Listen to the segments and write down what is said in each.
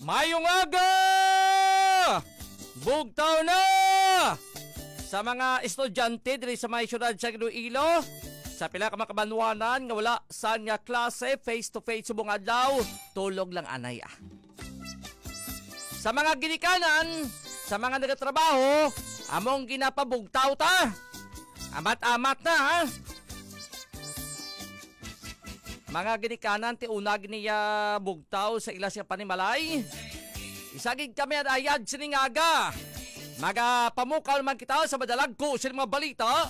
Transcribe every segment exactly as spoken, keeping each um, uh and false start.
Mayong aga! Bugtaw na! Sa mga estudyante diri sa may siyudad sa Iloilo, sa pila ka mga kabanwanan nga wala sad nga klase face to face subong adlaw, tulog lang anay, ah. Sa mga ginikanan, sa mga nagatrabaho, among ginapabugtaw ta. Amat-amat na, ha? Mga ginikanan, ti unag niya bugtaw sa ila siya panimalay. Isagig kami ang ayad sining aga. Magapamukaw naman kita sa madalagko sa mga balita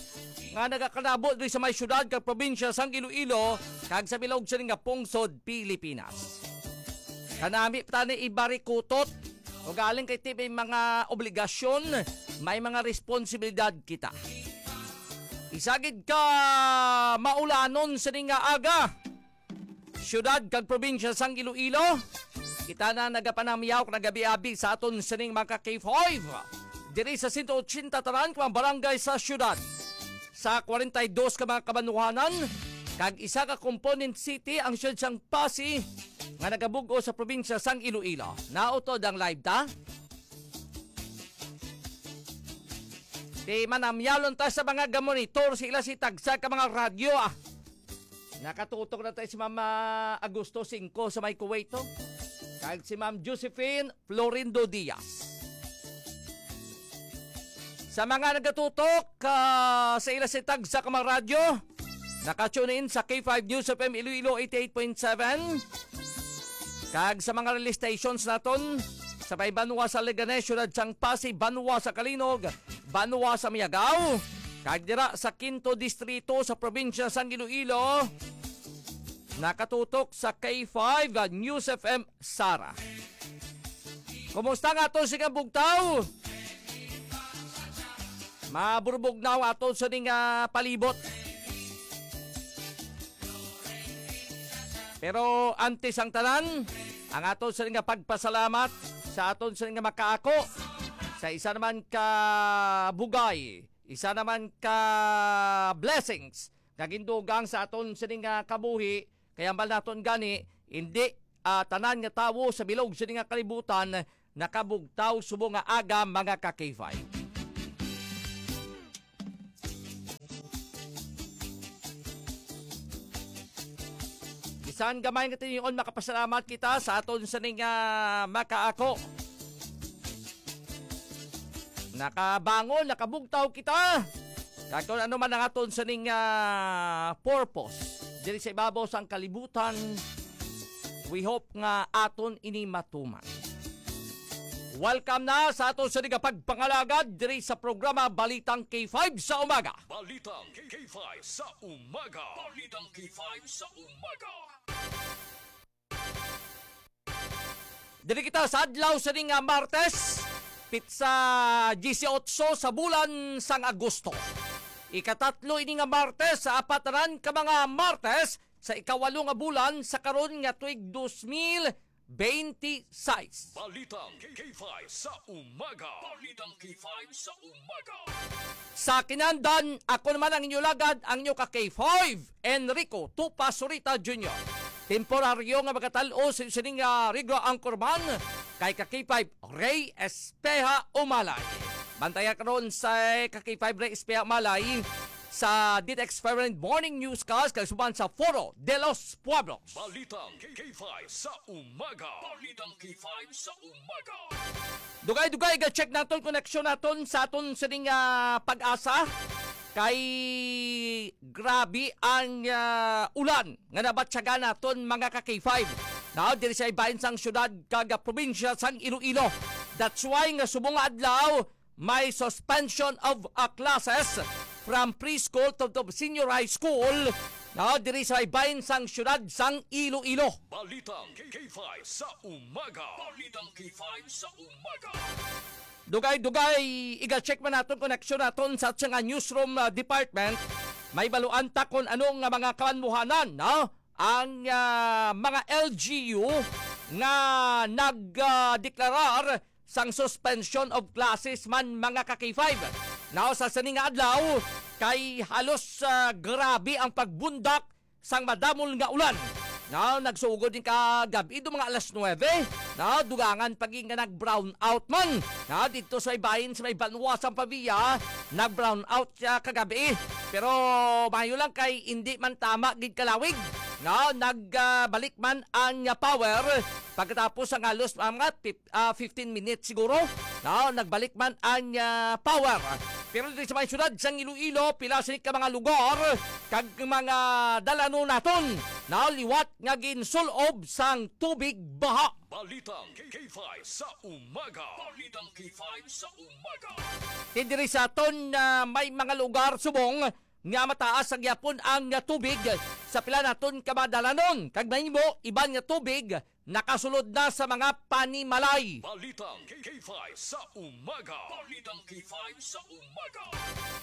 nga nagakanabo diri sa may syudad kag probinsya sang Iloilo kag sa bilog sining nga pungsod Pilipinas. Kanami pa tani ibarikutot o galing kay ti may mga obligasyon, may mga responsibilidad kita. Isagid ka maulanon sining nga aga. Siyudad kag probinsya sang Iloilo, kita na nagapanamyaw kag nagabi-abi sa aton sining mga K five. Diri sa sento ochenta tanan ka mga barangay sa siyudad, sa kwarenta y dos ka mga kabanwanan, kag isa ka component city ang siyudad sang Passi nga nagabug-os sa probinsya sang Iloilo. Nautod ang live ta. Di manamyalon ta sa mga gamonitor sa ila si tagsa ka mga radyo, ah. Nakatutok na tayo si Mama Agosto singko sa may Kuwait, oh. Kag si Ma'am Josephine Florindo Diaz. Sa mga nagatutok, ah, sa ila si tagsa ka mga radyo, naka-tune in sa K five News F M Iloilo eighty-eight point seven. Kag sa mga relay stations naton, sa may banwa sa Leganes, siyudad sang Passi, banwa sa Calinog, banwa sa Miagao, kag dira sa Quinto Distrito sa probinsya sang Iloilo, nakatutok sa K five News F M Sara. Kumusta nga ato sining bugtaw? Maburbog na ang ato sining, ah, palibot. Pero antes ang tanan, ang aton sining nga pagpasalamat sa aton sining nga makaako, sa isa naman ka bugay, isa naman ka blessings nga gindugang sa aton sining nga kabuhi, kay ambal naton gani, hindi, ah, tanan nga tawo sa bilog sini nga kalibutan nakabugtaw subong nga aga, mga ka K five. Bisan gamay nga tinion, makapasalamat kita sa aton sining, ah, makaako. Nakabangon, nakabugtaw kita. Kag kung ano man ang aton sining, ah, purpose diri sa ibabaw sang kalibutan, we hope nga aton ini matuman. Welcome na sa aton sining nga pagpangalagad diri sa programa Balitang K five sa Umaga. Balitang K five sa Umaga. Balitang K five sa Umaga. Diri kita sa adlaw sining nga Martes, pitsa disiotso sa bulan sang Agosto. Ikatatlo ini nga Martes sa apat tanan ka mga Martes sa ikawalo nga bulan sa karon nga tuig dos mil benti-sais. Balitang K five sa Umaga. Balitang K five sa Umaga. Sa kinandan, ako naman ang inyo lagad, ang inyo ka K five, Enrico Tupa Surita Junior. Temporaryo nga magatal-o sa sining, ah, Rigo Anchorman kay ka K five Ray Espeha Umalay. Bantaya karon sa ka K five Ray Espeha Umalay sa D T X Permanent Morning Newscast kag suban sa Foro de los Pueblos. Balitang K five sa Umaga. Balitang K five sa Umaga. Dugay-dugay, ga-check naton koneksyon naton sa aton sining, ah, Pag-asa. Kay grabe ang, ah, ulan nga nabatyagan naton, mga ka K five. Now, diri sa ibahin sang syudad kag probinsya sang Iloilo. That's why nga subong nga adlaw, may suspension of, ah, classes from preschool to, to senior high school, no, diri sa ibahin sang syudad sang Iloilo. Balitang K five sa Umaga. Balitang K five sa Umaga. Dugay-dugay, iga-check man naton koneksyon naton sa aton nga newsroom, ah, department. May baluan ta kung ano nga mga kabanwahanan, no? Ang, ah, mga L G U nga nag, ah, deklarar sang suspension of classes man, mga ka K five. Now, sa sini nga adlaw, kay halos, ah, grabe ang pagbundak sang madamol nga ulan No, nagsugod din kagab-i do mga alas nuwebe. No, dugangan pa gid nga nag-brown out man. No, dito sa ibahin sa may Banwa sang Pavia, nag-brown out siya kagabi. Pero mayo lang kay hindi man tama gid kalawig. No, nagbalik man ang, ah, power pagkatapos ang halos mga pip-, ah, fifteen minutes siguro. No, nagbalik man ang, ah, power. Pero diri sa may siyudad sang Iloilo, pila sini ka mga lugar kag mga dalanon naton, no, liwat nga ginsul-ob sang tubig baha. Balitang K five sa umaga. Balitang K five sa umaga. Ti diri sa aton, ah, may mga lugar subong nga mataas sa gyapon ang, ah, tubig sa pila naton ka mga dalanon, kag mahimo iban nga tubig nakasulod na sa mga panimalay. Balitang K five sa umaga. Balitang K five sa umaga.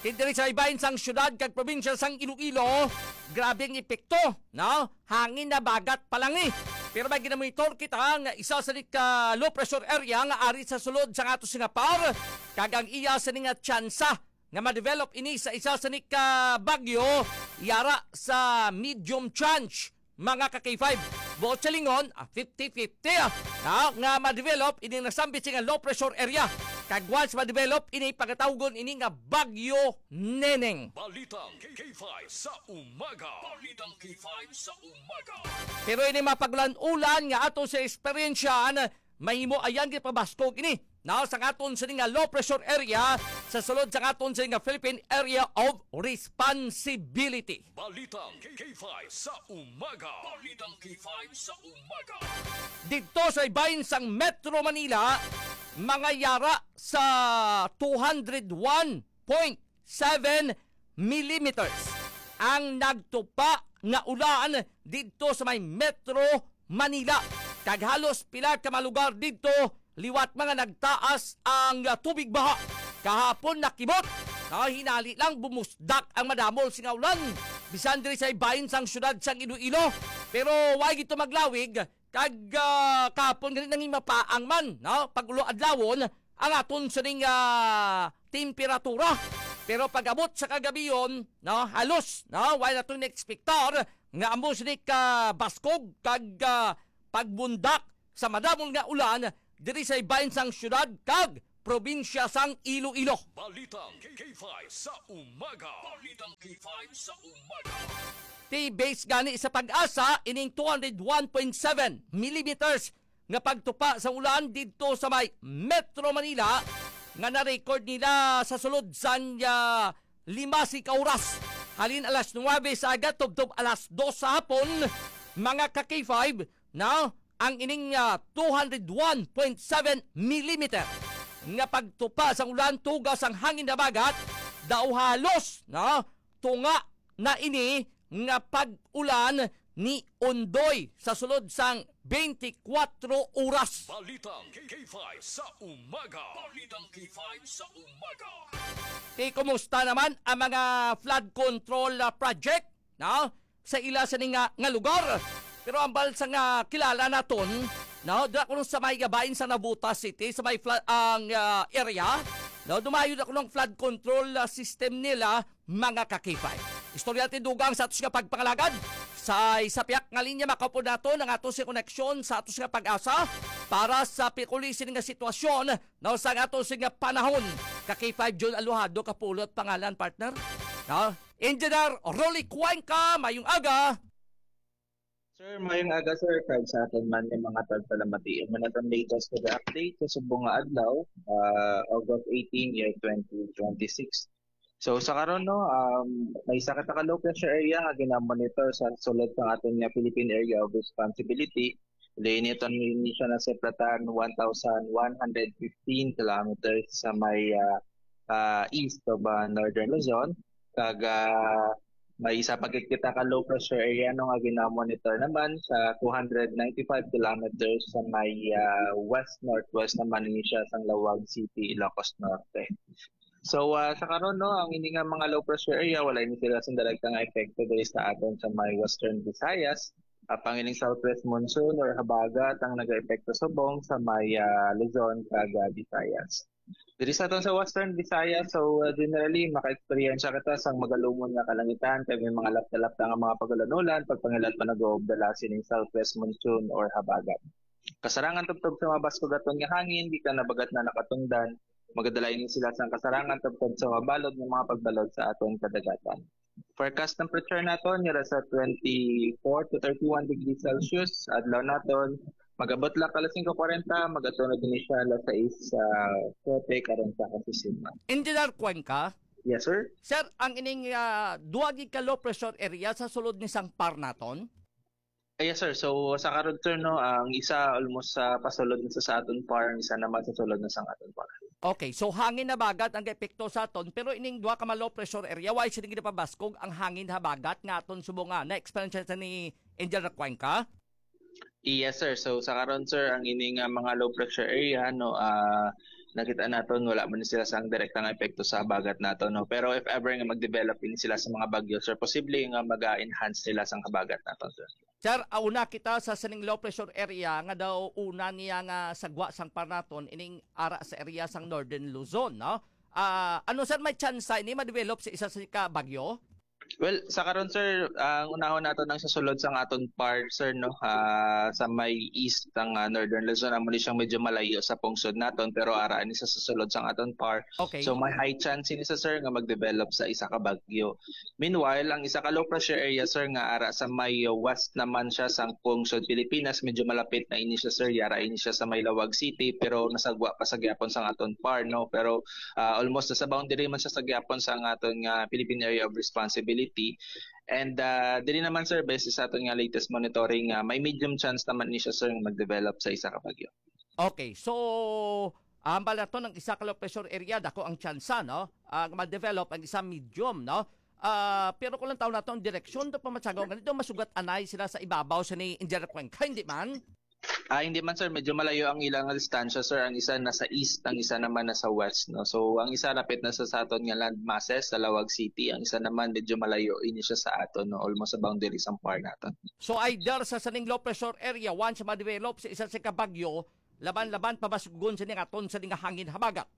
Ti diri sa ibahin sang siyudad kag probinsya sang Iloilo, grabe ang epekto, no? Hangin na bagat pa lang ni. Pero may ginamonitor kita nga isa sa ni ka low pressure area nga ari sa sulod sa ato sini nga par, kag ang iya sa ni nga tsansa nga ma-develop ini sa isa sa ni ka bagyo, yara sa medium chance, mga ka K five. Buot silingon, ah, fifty fifty, ah, na, nga ma-develop ini nasambit sini nga low pressure area. Kag once ma-develop ini, pagatawgon ini nga Bagyo Neneng. Balitang K five sa umaga. Balitang K five sa umaga. Pero ini mga pag-ulan-ulan nga ato sa eksperyensyahan, mahimo ayan gipabaskog ini, no, sa aton sini nga low pressure area sa sulod sa aton sini nga Philippine Area of Responsibility. Balitang K five sa umaga. Balitang K five sa umaga. Dito sa ibahin sang Metro Manila, mga yara sa two hundred one point seven millimeters ang nagtupa nga ulan didto sa may Metro Manila. Kag halos pila ka mga lugar didto liwat mga nagtaas ang, ah, tubig baha. Kahapon nakimot, ah, hinali lang bumusdak ang madamo sini nga ulan. Bisan diri sa ibahin sang siyudad sang Iloilo. Pero wa gid to maglawig, kag, ah, kahapon gani nangin mapaang man, no? Pag-ulo adlawon, ang aton sining, ah, temperatura. Pero pag-abot sa kagabion, no, halos, no, wala naton na-expectar nga amo sini ka baskog kag, ah, pagbundak sa madamo nga ulan diri sa ibahin sang siyudad kag probinsya sang Iloilo. Balitang K five sa umaga. Balitang K five sa umaga. Ti base gani sa PAGASA, ining two hundred one point seven millimeters nga pagtupa sa ulan didto sa may Metro Manila nga na-record nila sa sulod sang, ah, lima sini ka oras. Halin alas nuwebe sa aga tubtob alas dos sa hapon, mga ka K five, no? Ang ining, ah, two hundred one point seven millimeter nga pagtupa sang ulan, tuga sang hangin nga bagat, daw halos, no, tunga na ini nga pag-ulan ni Ondoy sa sulod sang twenty-four oras. Balitang K five sa umaga. Balitang K five sa umaga. Ti kumusta naman ang mga flood control, ah, project, no, sa ila sini nga, nga lugar? Pero ambal sa nga kilala naton, no, dira kuno sa may gabain sa Navotas City, sa may fla-, ang, ah, area, no, dumayo na kuno ang flood control, ah, system nila, mga ka K five. Istorya ti dugang sa atos nga pagpangalagad. Sa isa piyak nga linya, makaupod naton ang atos nga koneksyon sa atos nga PAGASA para sa pikuli sini nga sitwasyon, no, sa atos nga panahon. Ka K five Jun Aluhado, kapulot pangalan, partner. No? Engineer Rolly Cuenca, mayong aga. Sir, mayong aga, sir. Kag sa aton man nga mga tagpalamati, amo na ang latest nga update sa subong nga adlaw, ah, August eighteen, year twenty twenty-six. So, sa karon, no, um, may isa ka low pressure area nga ginamonitor sa sulod sa aton nga Philippine Area of Responsibility. Dili nito ni siya nasuplatan one thousand one hundred fifteen kilometers sa may, ah, ah, east of, ah, Northern Luzon. Kag, ah, may isa pa gid kita ka low pressure area, no, nga ginamonitor naman sa two hundred ninety-five kilometers sa may, ah, west-northwest naman ni siya sang Laoag City, Ilocos Norte. So, ah, sa karon, no, ang ini nga mga low pressure area, wala ini sila sing direkta nga epekto diri sa aton sa may Western Visayas. Apang ining southwest monsoon or habagat ang nagaepekto subong sa may, ah, Luzon kag, ah, Visayas. Diri sa aton sa Western Visayas, so, ah, generally maka-eksperyensya kita sang magalumon nga kalangitan kag may mga lapta-lapta nga mga pag-ulan-ulan, pagpangilat pa nag-uubdala sining southwest monsoon or habagat. Kasarangan tubtob sa mabaskog aton nga hangin, di ka na bagat na nakatundan. Magadala ini sila sang kasarangan tubtob sa mabalod nga mga pagbalod sa aton kadagatan. Forecast temperature naton yara sa twenty-four to thirty-one degrees Celsius. Adlaw naton, magabot lang alas singko kwarenta, magatunod ini siya alas sais, ah, kote karon sa kasisiman. Engineer Cuenca? Yes, sir. Sir, ang ining, ah, duwa gid ka low pressure area sa sulod ni sang par naton? Ah, yes, sir. So, sa karon, sir, no, ang isa almost sa pasulod na sa, sa aton par, ang isa naman sa sulod na sa aton par. Okay, so hangin habagat ang epekto sa aton, pero ining duha ka ma-low pressure area, wala sila ginapabaskog ang hangin habagat nga aton subong nga na-experience sa ni Angel Recuenca? Yes, sir. So, sa karon, sir, ang ini nga mga low pressure area, no, ah, nakita naton wala man sila sang direkta nga epekto sa habagat naton, no. Pero if ever nga mag-develop ini sila sa mga bagyo, sir, posible nga mag-enhance sila sang habagat naton, sir. Sir, ah, una kita sa sining low pressure area nga daw una niya nga sagwa sang par naton ining ara sa area sang Northern Luzon, no? Ah, ano, sir, may tsansa ini ma-develop sa isa sa ka bagyo? Well, sa karon, sir, ang unahon nato nang sa sulod sang aton par, sir, no? Ah, sa may east sang, ah, Northern Luzon, amo ni siyang medyo malayo sa pungsod naton, pero ara ni sa, sa sulod sang aton par. Okay. So, may high chance ini sa, sir, nga mag-develop sa isa ka bagyo. Meanwhile, ang isa ka low pressure area, sir, nga ara sa may west naman siya sang pungsod Pilipinas, medyo malapit na ini siya, sir. Yara ini siya sa may Laoag City, pero nasagwa pa sa gyapon sang aton par, no? Pero, ah, almost sa boundary man siya sa gyapon sang aton nga Philippine Area of Responsibility. And, ah, diri naman, sir, based sa aton nga latest monitoring, ah, may medium chance naman ni siya, sir, nga mag-develop sa isa ka bagyo. Okay, so, hambal naton ang isa ka low pressure area, dako ang tsansa, no? Ah, nga ma-develop ang isa medium, no? Ah, pero kung lang taon nato ang direksyon, do pa matsagaw ganito, masugat anay sila sa ibabaw sa ni Angel Recuenca, hindi man? Ah, hindi man, sir. Medyo malayo ang ilang distansya, sir. Ang isa nasa east, ang isa naman nasa west, no? So, ang isa lapit na sa, sa aton nga land masses, sa Laoag City. Ang isa naman medyo malayo ini siya sa aton, no? Almost sa boundary sang par naton. So, either sa sining low pressure area, once ma-develop sa isa sa kabagyo, laban-laban pabasgon sa ning aton sa ning hangin habagat.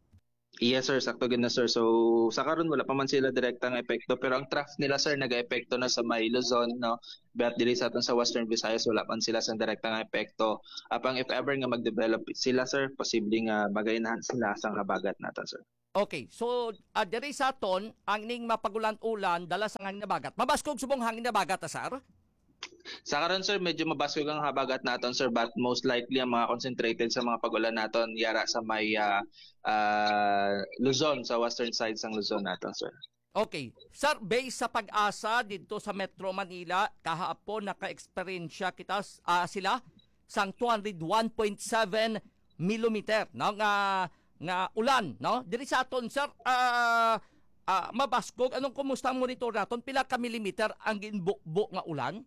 Yes, sir. Sakto gid na, sir. So, sa karon, wala pa man sila direkta nga epekto, pero ang trough nila, sir, nag-epekto na sa may Luzon, no? But diri sa aton sa Western Visayas, wala man sila sa direkta nga epekto. Apang if ever nga mag-develop sila, sir, posible nga mag-enhance sila sa habagat naton, sir. Okay, so, ah, diri sa aton, ang ning mapagulan-ulan, dala sa hangin habagat. Mabaskog subong hangin habagat, ah, sir? Sa karon, sir, medyo mabaskog ang habagat naton, sir, but most likely ang mga concentrated sa mga pag-ulan naton yara sa may, ah, ah, Luzon, sa western side sang Luzon naton, sir. Okay. Sir, based sa PAGASA didto sa Metro Manila, kahapon naka-eksperyensya kita, ah, sila sang two hundred one point seven millimeter, no, nga, nga ulan, no? Diri sa aton, sir, ah, ah, mabaskog, anong kumusta ang monitor naton? Pila ka millimeter ang ginbubo nga ulan?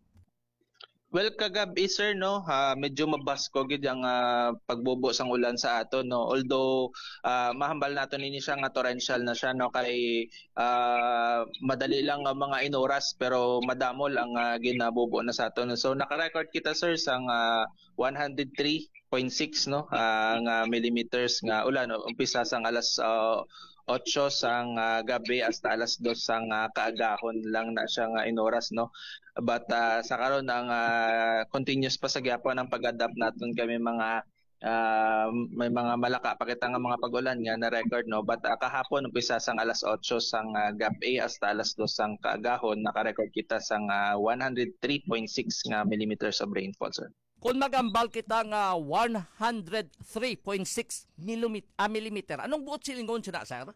Well, kagab-i, sir, no, ah, medyo mabaskog gid ang, ah, pagbubo sang ulan sa aton, no. Although, ah, mahambal naton ini siya nga torrential na siya, no, kay, ah, madali lang ang mga inoras, pero madamol ang, ah, ginabubo na sa aton. So, naka-record kita, sir, sang, ah, one hundred three point six, no, ah, nga millimeters nga ulan, no? Umpisa sang alas, ah, otso sang, ah, gabi hasta alas dos sang, ah, kaagahon lang na siya nga inoras, no. But, ah, sa karon ang, ah, continuous pa sa gyapon ang pag-adapt naton kay may mga, ah, may mga malaka pa kita nga mga pag-ulan nga na-record, no. But, ah, kahapon umpisa sang alas otso sang, ah, gabi hasta alas dos sang kaagahon, naka-record kita sang, ah, one hundred three point six nga millimeters of rainfall, sir. Kung magambal kita nga one hundred three point six millimet-, ah, millimeter, anong buot silingon siya na, sir?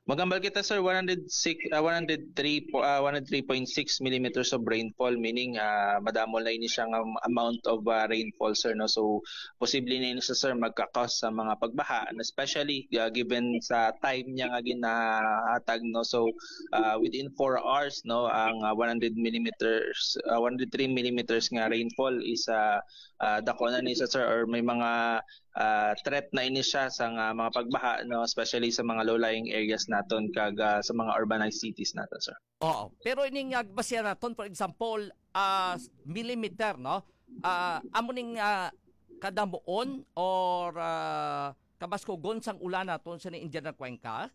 Magambal kita, sir, one hundred six, ah, one hundred three po, ah, one hundred three point six millimeters of rainfall, meaning, ah, madamo na ini siya nga amount of, ah, rainfall, sir, no? So, posible na ini siya, sir, magka-cause sa mga pagbaha, and especially, ah, given sa time niya nga ginahatag, no? So, ah, within four hours, no, ang, ah, one hundred millimeters, ah, one hundred three millimeters nga rainfall is, ah, ah, dako na ni siya, sir, or may mga, ah, threat na ini siya sa nga mga pagbaha, no, especially sa mga low-lying areas naton kag, ah, sa mga urbanized cities naton, sir. Oo. Pero ining, ah, basihan naton, for example, ah, s-, millimeter, no? Ah, amo ning, ah, kadamuon or, ah, kabaskugon sang ulan naton sa ni Indian Cuenca?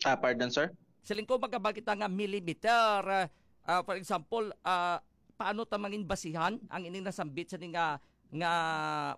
Ah, pardon, sir? Siling ko, magabal kita nga millimeter, ah, ah, for example, ah, paano ta mangin basihan ang ining nasambit sa ni nga, nga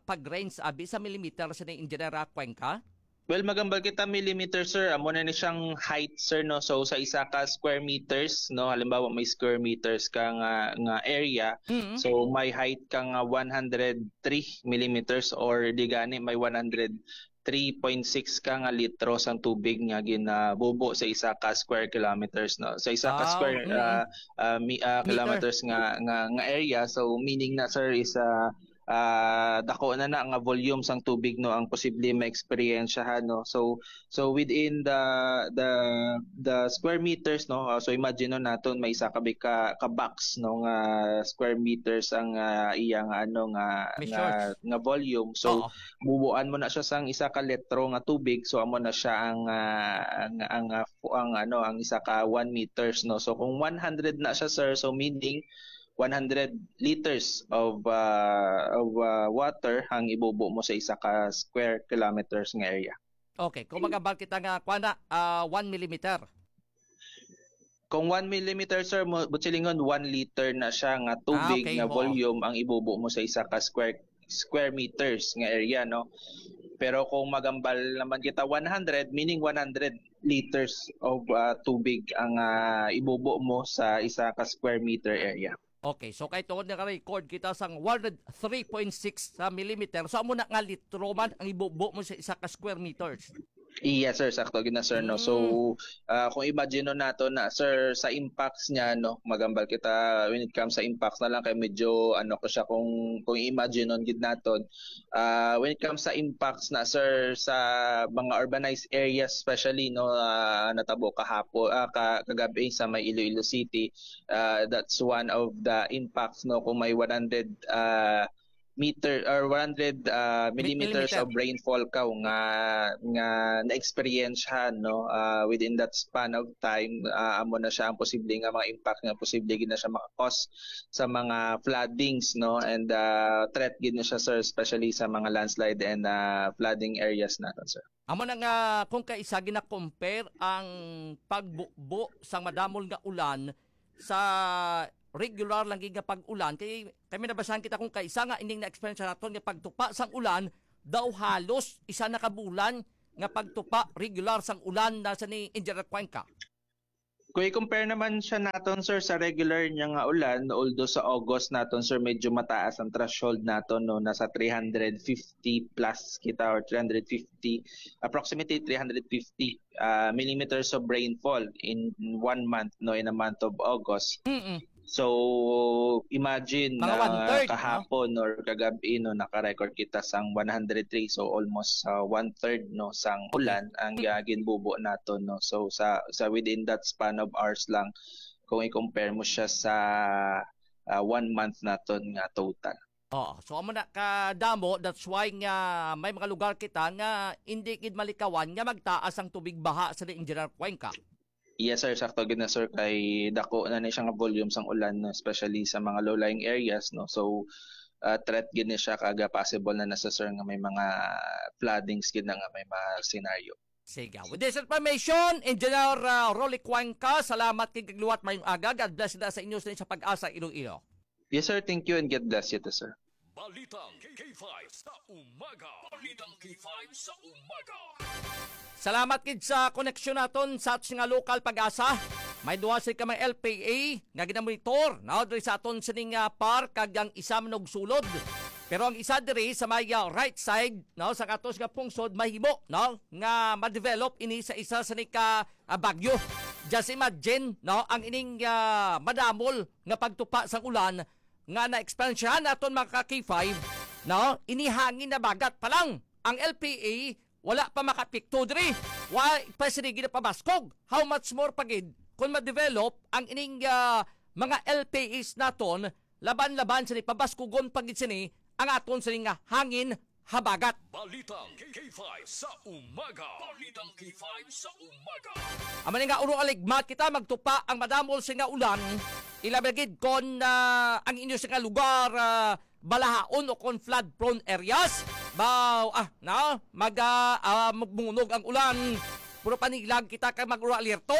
pag-range abi sa millimeter sa ni Engineer Cuenca? Well, magambal kita millimeter, sir. Amo na ni siyang height, sir, no? So, sa isa ka square meters, no? Halimbawa, may square meters ka nga, nga area. Mm. So, may height ka nga one hundred three millimeters or di gani, may one hundred three point six ka nga litro sang tubig nga ginabubo sa isa ka square kilometers, no? Sa isa ka Ah, square, mm. ah, ah, mi-, ah, Meter. Kilometers nga, nga, nga area. So, meaning na, sir, is, ah, ah, dako na na nga volume sang tubig, no, ang posible maeksperiensyahan, no? So, so within the, the, the square meters, no, ah, so imagine, no, naton may isa ka bi-, ka, ka box, no, nga square meters ang, ah, iyang, ano, nga, Measures. nga, nga volume. So, Oo. bubuan mo na siya sang isa ka litro nga tubig, so amo na siya ang, ah, ang, ang, ah, fu-, ang, ano, ang isa ka one meters, no? So, kung one hundred na siya, sir, so meaning one hundred liters of, ah, of, ah, water ang ibubo mo sa isa ka square kilometers nga area. Okay, kung magambal kita nga, kuwan na, ah, one millimeter. Kung one millimeter, sir, mo, buot silingon, one liter na siya nga tubig Ah, okay, nga oo. volume ang ibubo mo sa isa ka square, square meters nga area, no? Pero kung magambal naman kita one hundred, meaning one hundred liters of, ah, tubig ang, ah, ibubo mo sa isa ka square meter area. Okay, so kay tungod naka-record kita sang one hundred three point six sa millimeter, so amo na nga litro man ang ibubo mo sa isa ka square meters. Yes, sir. Sakto gid na, sir, no? So, Mm. ah, kung imagine nato na, sir, sa impacts niya, no, magambal kita when it comes sa impacts na lang, kay medyo, ano ko siya, kung, kung imagine gid naton, ah, when it comes sa impacts na, sir, sa mga urbanized areas, especially, no, ah, natabo kahapon, ah, ka-, kagabi sa may Iloilo City, ah, that's one of the impacts, no, kung may one hundred, ah, meter or one hundred, ah, Mi-, millimeters of millimeter. rainfall ka nga, nga na-experience, no, ah, within that span of time, ah, amo na siya ang posible nga mga impact nga posible gid na siya maka-cause sa mga floodings, no, and, ah, threat gid na siya, sir, especially sa mga landslide and, ah, flooding areas naton, sir. Amo na nga, kung kaisa gina-compare ang pagbubo sang madamol nga ulan sa regular lang gid nga pag-ulan, kay, kay may nabasahan kita kung kaisa nga ining na-experience naton nga pagtupa sang ulan, daw halos isa na ka bulan nga pagtupa regular sang ulan na sa ni Engineer Cuenca. Kung i-compare naman siya naton, sir, sa regular niya nga ulan, although sa August naton, sir, medyo mataas ang threshold naton, no, nasa three hundred fifty plus kita or three hundred fifty, approximately three hundred fifty, ah, millimeters of rainfall in one month, no, in a month of August. Mm-mm. So, imagine Mga na one-third, no? kahapon or kagabi, no, naka-record kita sang one hundred three, so almost, ah, one-third, no, sang Okay. ulan ang, ah, ginbubo naton, no. So, sa, sa within that span of hours lang, kung i-compare mo siya sa, ah, one month naton nga total. Oo. So, amo na kadamo, that's why nga may mga lugar kita nga hindi gid malikawan nga magtaas ang tubig baha sa Engineer Cuenca. Yes, sir. Sakto gid na, sir, kay dako na ni siya nga volume sang ulan, no, especially sa mga low-lying areas, no. So, ah, threat gid ni siya, kag possible na na sa, sir, nga may mga floodings gid na nga may mga scenario. Sige. With this information, Engineer, ah, Rolly Cuenca, salamat kay kagluwat, mayong aga. God bless na sa inyo sa, sa Pag-asa Iloilo. Yes, sir. Thank you and God bless you too, sir. Balitang K five sa umaga. Balitang K five sa umaga. Salamat gid sa koneksyon naton sa aton nga lokal, Pag-asa. May duha sa ka mga L P A nga ginamonitor, no, diri sa aton sining, ah, park, kag ang isa manugsulod. Pero ang isa diri sa may, ah, right side, no, sa aton nga pungsod, mahimo, no, nga ma-develop ini sa isa sa ni ka, ah, bagyo. Just imagine, no, ang ining, ah, madamol nga pagtupa sang ulan nga na-experiensyahan naton, mga ka-K five, no? Ini hangin na bagat pa lang. Ang L P A wala pa makaapekto diri. Wa pa sini ginapabaskog. How much more pa gid kung ma-develop ang ining, ah, mga L P As naton, laban-laban sini, pabaskugon pa gid sini ang aton sini nga hangin habagat. Balitang K five sa umaga. Balitang K five sa umaga. Amo ni nga, urong aligmat kita, magtupa ang madamo sini nga ulan. Ilabi gid kon, ah, ang inyo sini nga lugar, ah, balahaon o kon flood prone areas. Baw, ah, na, mag, ah, ah, magmunog ang ulan. Pero panilag kita kay mag-alerto.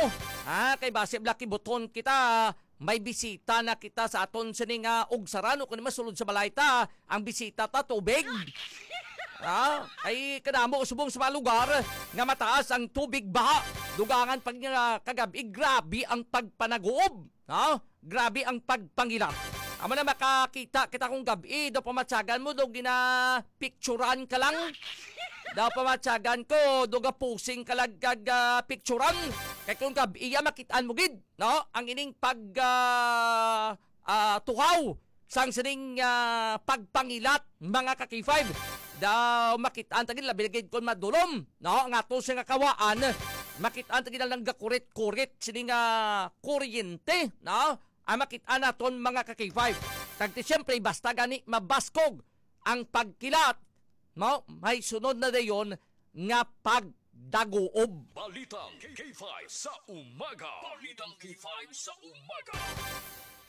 Ha, kay basi bala kibuton kita, may bisita na kita sa aton sini nga ugsaran, o kung masulod sa balay ta, ang bisita ta tubig. Ha? Ay kadamo subong sa mga lugar nga mataas ang tubig baha. Dugangan pag nga kagabi, grabe ang pagpanaguob. Ha? Grabe ang pagpangilat. Amo na, makakita kita kung gabi, daw pamatyagan mo, daw ginapicturan ka lang. Daw pamatyagan ko, daw gapusing ka lang kag, ah, picturan. Kay kung gabi, iya makitaan mo gid, no? Ang ining pag, ah, ah, tuhaw sang sining, ah, pagpangilat, mga ka-K five. Daw makitaan ta gid, labi na gid kon madulom, no? Nga ato siya nga kawaan, makitaan ta gid ang gakurit-kurit sining, ah, kuryente, no? Ang makitaan naton, mga ka-K five. Kag ti, siyempre, basta gani mabaskog ang pagkilat, no? May sunod na dayon nga pagdaguob. Balitang K five sa umaga. Balitang K five sa umaga.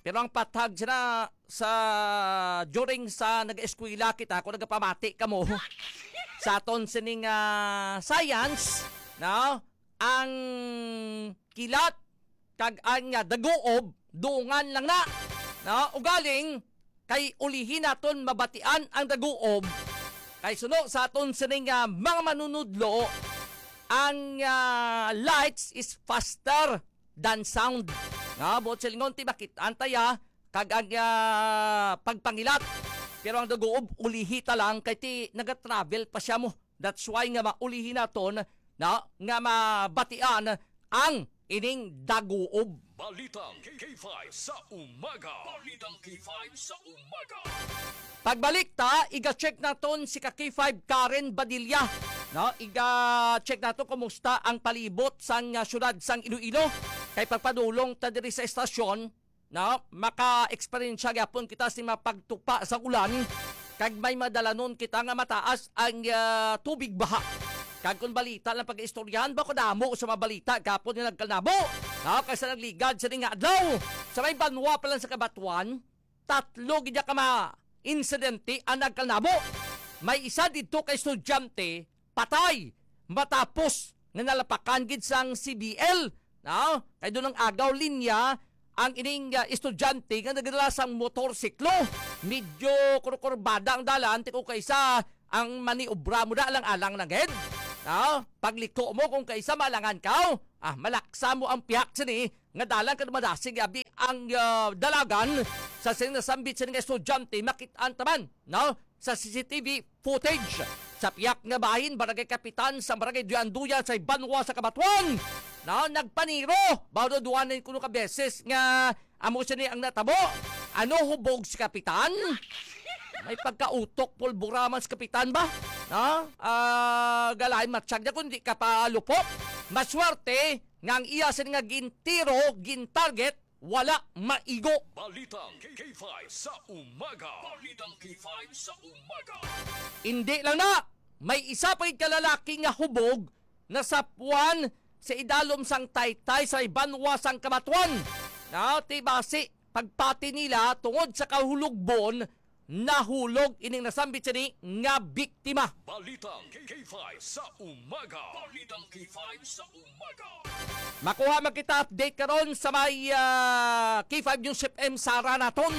Pero ang patag sina sa, during sa nag-eskwela kita, kung nagapamati kamo sa aton sining, ah, science, no? Ang kilat kag ang, ah, daguob, dungan lang na, no? Ugaling, kay ulihi naton mabatian ang daguob. Kay suno sa aton sining, ah, mga manunudlo, ang, ah, lights is faster than sound. Nga, buot silingon, ti makit-an ta ya, kag ang, ah, pagpangilat. Pero ang daguob, ulihi ta lang, kay ti nagatravel pa siya mo. That's why nga maulihi naton na nga mabatian ang ining daguob. Balitang K five sa umaga. Balitang K five sa umaga. Pagbalik ta, iga-check naton si ka K five Karen Badilla. No, iga-check nato kumusta ang palibot sang, ah, syudad sang Iloilo. Kay pagpadulong ta diri sa estasyon, no, maka-eksperyensya gyapon kita sa mga pagtupa sa ulan, kag may madalanon kita nga mataas ang, ah, tubig baha. Kag kung balita lang pag-istoryahan, bako damo sa mga balita gapon nga nagkalnabo, no, kay sa nagligad sa nga adlaw, sa may banwa pa lang sa Cabatuan, tatlo gid ka mga insidente ang nagkalnabo. May isa didto ka estudyante, patay matapos nga nalapakan gid sang C B L, no? Kay doon ang agaw linya ang ining, ah, estudyante nga nagdala sang motorsiklo. Medyo kurkurbada ang dalan, ti kung kaisa ang maniobra mo na alang-alang na gid. No? Pagliko mo kung kaisa malangan ka, ah, malaksa mo ang pihak sini nga dalan kag madasig abi ang, ah, dalagan sa sini nasambit sini nga estudyante, makit-an taman, no? Sa C C T V footage sa piyak nga bahin, barangay kapitan sa barangay Duyan-Duyan sa Banwa sa Cabatuan, no, nagpaniro. Bawo daw duha na kuno ka beses nga amo sini ang natabo. Ano, hubog si kapitan? May pagkautok, pulbura man si kapitan ba? No? Ah, galain matsyag niya kung di ka pa lupot. Maswerte nga ang iya sini nga gintiro, gintarget, wala maigo. Balitang K five sa umaga. Balitang K five sa umaga. Hindi lang na, may isa pa gid ka lalaki nga hubog nasapwan sa idalom sang taytay sa Banwa sang Cabatuan. Na, ti basi pagpati nila tungod sa kahulogbon, nahulog ining nasambit sini nga biktima. Balitang K five sa umaga. Balitang K five sa umaga. Makuha man kita update karon sa may, ah, K five News F M Sara naton.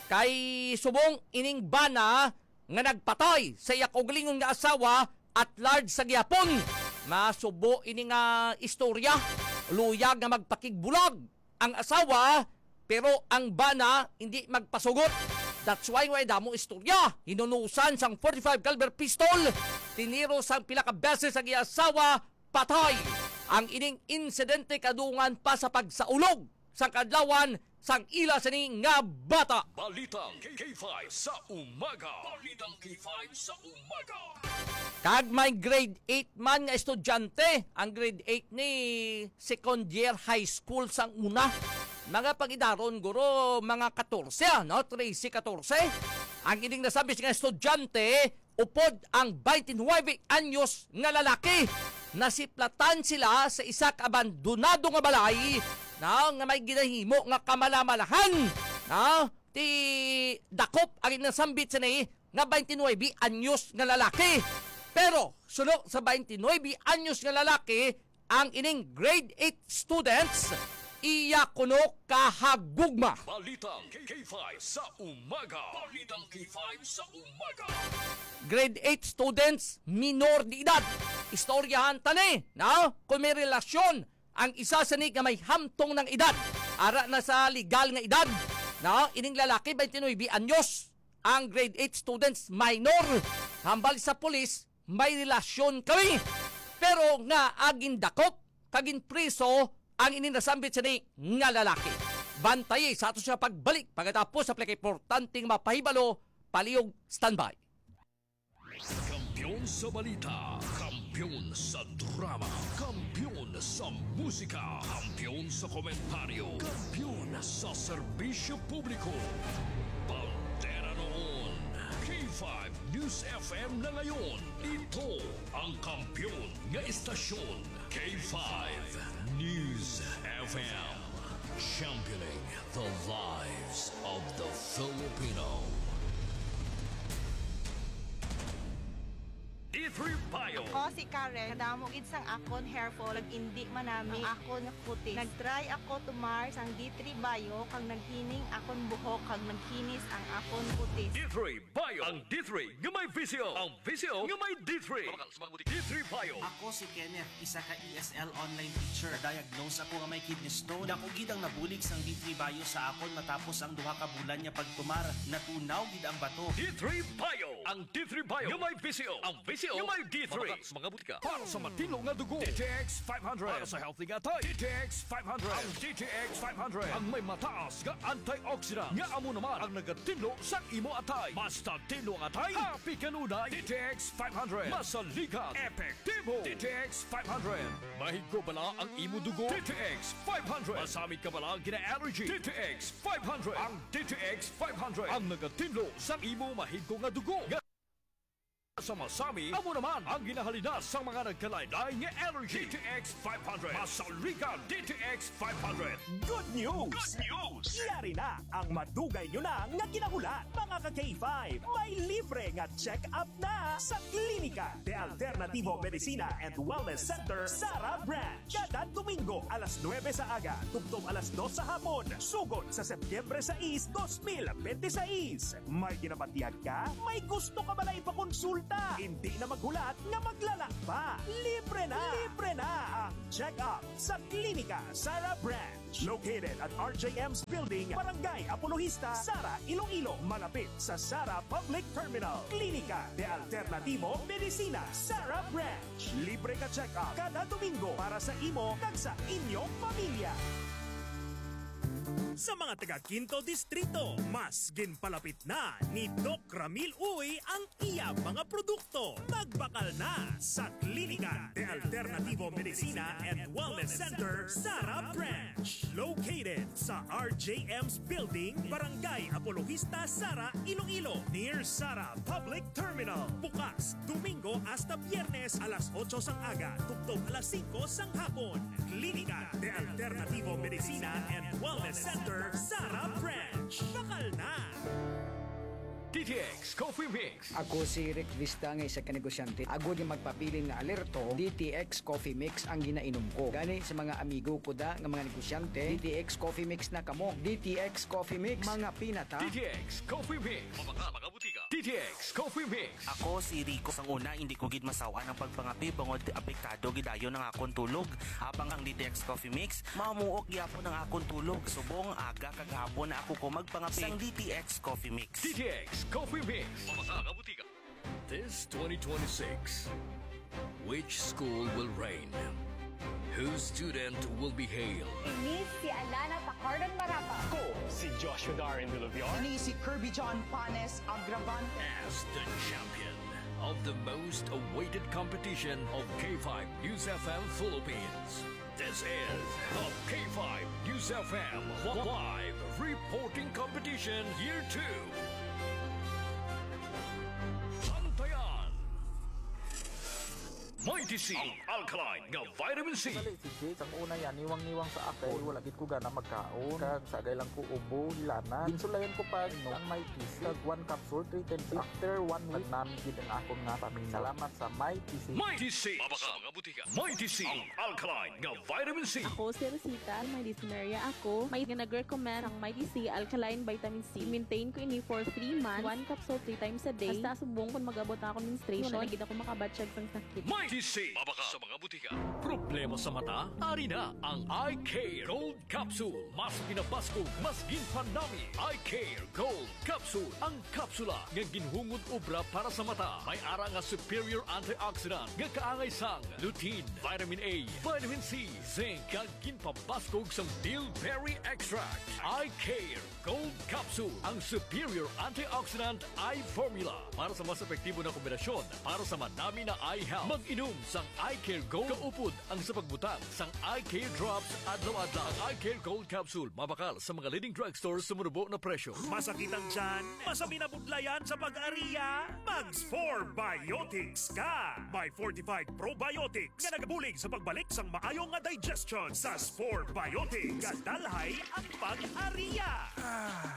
Kay subong ining bana nga nagpatay sa iya kaugalingon nga asawa at large sa gihapon. Masubo ini nga istorya. Luyag nga magpakigbulag ang asawa, pero ang bana hindi magpasugot. That's why way damo istorya. Hinunusan sang forty-five caliber pistol, tiniro sang pila ka beses ang iya asawa, patay. Ang ining insidente kadungan pa sa pagsaulog sang kadlawan sang ila sini nga bata. Balitang K five sa umaga. Balitang K five sa umaga. Kag may grade eight man nga estudyante, ang grade eight ni second year high school sang una. Mga pangidaron, guro, mga katorse, ah, no? Trese, katorse. Ang ining nasambit nga estudyante, upod ang twenty-nine anyos nga lalaki. Nasiplatan sila sa isa ka abandonado nga balay na nga may ginahimo nga kamalamalahan na ti dakop ang nasambit sini nga twenty-nine anyos nga lalaki. Pero suno sa twenty-nine anyos nga lalaki, ang ining grade eight students iya kuno kahagugma. Balitang K five sa umaga. Balitang K five sa umaga. Grade eight students, minor de edad. Istoryahan ta ni, no? Kung may relasyon ang isa sini nga may hamtong ng edad, ara na sa legal nga edad, no? Ining lalaki, twenty-nine anyos. Ang grade eight students, minor. Hambal sa pulis, may relasyon kami. Pero nga agindakop kag ginpriso ang ining nasambit sini nga lalaki. Bantayi sa ato siya pagbalik pagkatapos sa pinakaimportante nga mapahibalo, palihog standby. Kampiyon sa balita, kampiyon sa drama, kampiyon sa musika, kampiyon sa komentaryo, kampiyon sa serbisyo publiko. Bandera noon, K five News F M na ngayon. Ito ang kampiyon nga estasyon, K five News F M. Championing the lives of the Filipino. D three Bio. Ako si Karen. Kadamo gid sang akon hair fall, nag-indi man nami ang akon nga kutis. Nag-try ako tumar sang D three Bio, kag naghining akon buhok, kag nagkinis ang akon kutis. D three Bio. Ang D three nga may visyo. Ang visyo nga may D three. Mabakal sa mga butika. D three Bio. Ako si Kenneth, isa ka E S L online teacher. Na-diagnose ako nga may kidney stone. Dako gid ang nabulig sang D three Bio sa akon matapos ang duha ka bulan nga pagtumar. Natunaw gid ang bato. D three Bio. Ang D three Bio nga may visyo. Ang visyo nga may D three. Mabakal sa mga butika. Para sa matinlo nga dugo, D T X five hundred. Para sa healthy nga atay, D T X five hundred. Ang D T X five hundred ang may mataas nga antioxidant, nga amo naman ang nagatinlo sa imo atay. Basta tinlo ang atay, happy kanunay. D T X five hundred. Masaligan, epektibo. D T X five hundred. Mahigko bala ang imo dugo? D T X five hundred. Masami ka bala gina-allergy? D T X five hundred. Ang D T X five hundred ang nagatinlo sa imo mahigko nga dugo. Nga sa masami, amo naman ang ginahalina sa mga nagkalain-lain nga allergy. D T X five hundred. Masaligan, D T X five hundred. Good news! Good news! Yari na ang madugay nyo na nga ginahulat, mga ka K five. May libre nga check-up na sa Klinika de Alternativo Medicina and Wellness Center, Sara Branch. Kada Domingo, alas nuebe sa aga, tubtob alas dos sa hapon, sugod sa Setyembre sais, dos mil bente sais. May ginabatyag ka? May gusto ka bala ipakonsulta? Hindi na maghulat nga maglalang pa. Libre na! Libre na ang check-up sa Klinika Sara Branch. Located at R J M's Building, Barangay Apologista, Sara, Iloilo, malapit sa Sara Public Terminal. Klinika de Alternativo Medicina, Sara Branch. Libre ka check-up kada Domingo para sa imo kag sa inyong pamilya. Sa mga taga Quinto Distrito, mas ginpalapit na ni Doc Ramil Uy ang iya mga produkto. Magbakal na sa Klinika de Alternativo Medicina and Wellness Center, Sara Branch. Located sa R J M's Building, Barangay Apologista, Sara, Iloilo, near Sara Public Terminal. Bukas Domingo hasta Biyernes, alas otso sang aga tubtob alas singko sang hapon. Klinika de Alternativo Medicina and Wellness Center, Sara Branch. Bakal na! D T X Coffee Mix. Ako si Rick Vista nga isa ka negosyante. Agod nga magpabilin nga alerto, D T X Coffee Mix ang ginainom ko. Gani sa mga amigo ko da nga mga negosyante, D T X Coffee Mix na kamo. D T X Coffee Mix, mga pinata. D T X Coffee Mix. Mabakal sa mga butika. D T X Coffee Mix. Ako si Rico. Sang una, hindi ko gid masaw-an ang pagpangape bangod apektado gid dayon ang akon tulog. Habang ang D T X Coffee Mix, mamuok gyapon ang akon tulog. Subong aga kag hapon na ako ko magpangape sang D T X Coffee Mix. D T X Coffee Mix. Mabakal sa mga butika. This twenty twenty-six, which school will reign? Whose student will be hailed? Ini si Alana Tacardan Marapa. Ako si Joshua Darren Villaviar. Ini si Kirby John Panes Agravante. As the champion of the most awaited competition of K five News F M Philippines. This is the K five News F M Live Reporting Competition Year two. Bantayan Mighty C, ang alkaline nga vitamin C. Dali, si Jake, ang una yan, niwang-niwang sa ako. Wala gid ko gana magkaon. Kag sagay lang ko ubo, hilanan. Ginsulayan ko pa, no, ang Mighty C. Kag one capsule, three times. After one week, nagnami gid ang akon nga pamina. Salamat sa Mighty C. Mighty C. Mabakal sa mga butika. Mighty C, ang alkaline nga vitamin C. Ako si Rosita, may dysmenorrhea ako. May nga nag-recommend ang Mighty C alkaline vitamin C. Maintain ko ini for three months. One capsule three times a day. Hasta subong kung mag-abot na ako menstruation, na gid ako makabatyag sang sakit. Mighty C, mabakal sa mga butika. Problema sa mata? Ari na ang Eye Care Gold Capsule. Mas ginabaskog, mas ginpanami. Eye Care Gold Capsule. Ang kapsula nga ginhungod obra para sa mata. May ara nga superior antioxidant nga kaangay sang lutein, vitamin A, vitamin C, zinc, kag ginpabaskog sang bilberry extract. Eye Care Gold Capsule, ang superior antioxidant eye formula para sa mas epektibo na kombinasyon para sa manami na eye health. Mag-inom sang Eye Care Gold kaupod ang sa pagbutang sang Eye Care Drops adlaw-adlaw. Ang Eye Care Gold Capsule mabakal sa mga leading drugstore sa manubo na presyo. Masakit ang tiyan? Masabi na budlayan sa pag-ariya? Mag Spore Biotics ka! May fortified probiotics nga nagabulig sa pagbalik sang maayo nga digestion. Sa Spore Biotics, gadalhay ang pag-ariya.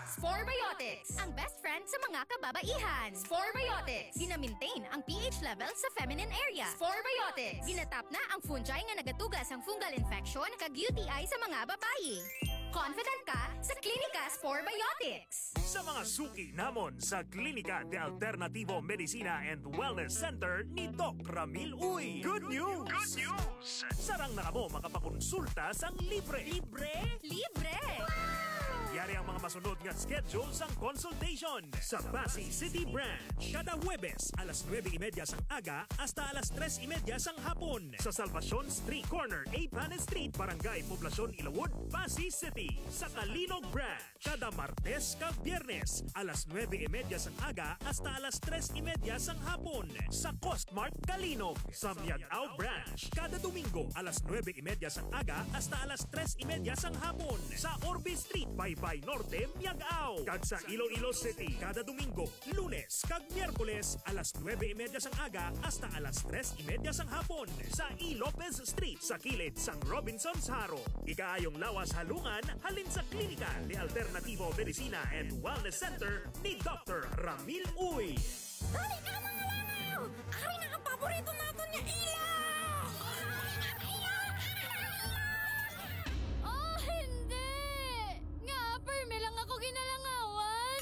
Spore Biotics, ang best friend sa mga kababaihan. Spore Biotics, gina-maintain ang pH level sa feminine area. Spore Biotics, ginatap na ang fungi nga nagatuga sang fungal infection kag U T I sa mga babayi. Confident ka sa Klinika Spore Biotics. Sa mga suki namon sa Klinika de Alternativo Medicina and Wellness Center ni Doc Ramil Uy. Good news! Good news! Sarang na kamo makapakonsulta sang libre. Libre? Libre! Yari ang mga masunod nga schedule sang consultation. Sa Passi City Branch, kada Huwebes, alas nuebe y media sang aga hasta alas tres y media sang hapon. Sa Salvacion Street, corner Eighth Planet Street, Barangay Poblacion, Ilawod, Passi City. Sa Calinog Branch, kada Martes kag Biyernes, alas nuebe y media sang aga hasta alas tres y media sang hapon. Sa Costmart Calinog, sa Miag-ao Branch, kada Domingo, alas nuebe y media sang aga hasta alas tres y media sang hapon. Sa Orbe Street, Baybay Norte, Miag-ao. Kag sa Iloilo City, kada Domingo, Lunes kag Miyerkules, alas nuebe y media sang aga hasta alas tres y media sang hapon sa E. Lopez Street, sa kilid sang Robinsons Jaro. Ikaayong lawas halungan halin sa Klinika de Alternativo Medicina and Wellness Center ni Doctor Ramil Uy. Dali na, mga langaw! Ari na ang paborito naton nga ilaw! Oh, hindi! Nga, permi lang ako ginalangawan!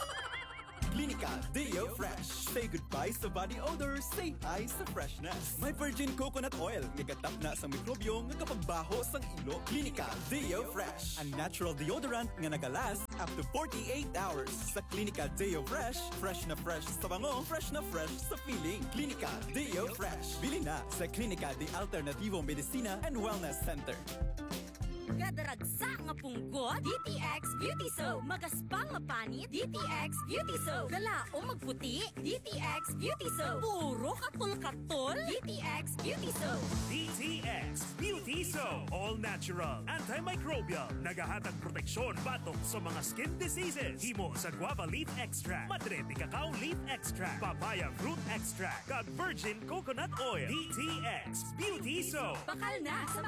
Klinika Deo Fresh. Say goodbye sa body odor. Say hi sa freshness. May virgin coconut oil nga gatapna sang mikrobyo nga kapagbaho sang ilo. Klinika Deo Fresh, a natural deodorant nga nagalast up to forty-eight hours. Sa Klinika Deo Fresh, fresh na fresh sa bango, fresh na fresh sa feeling. Klinika Deo Fresh. Bili na sa Klinika de Alternativo Medicina and Wellness Center. Kadaragsa nga punggot, D T X Beauty Soap. Magaspa nga panit, D T X Beauty Soap. Kalaom magputi, D T X Beauty Soap. Puro katol-katol, D T X Beauty Soap. D T X Beauty Soap. All natural, antimicrobial. Nagahatag proteksyon batok sa mga skin diseases. Himo sa guava leaf extract, madre de cacao leaf extract, papaya fruit extract, kag virgin coconut oil. D T X Beauty Soap. Bakal na sa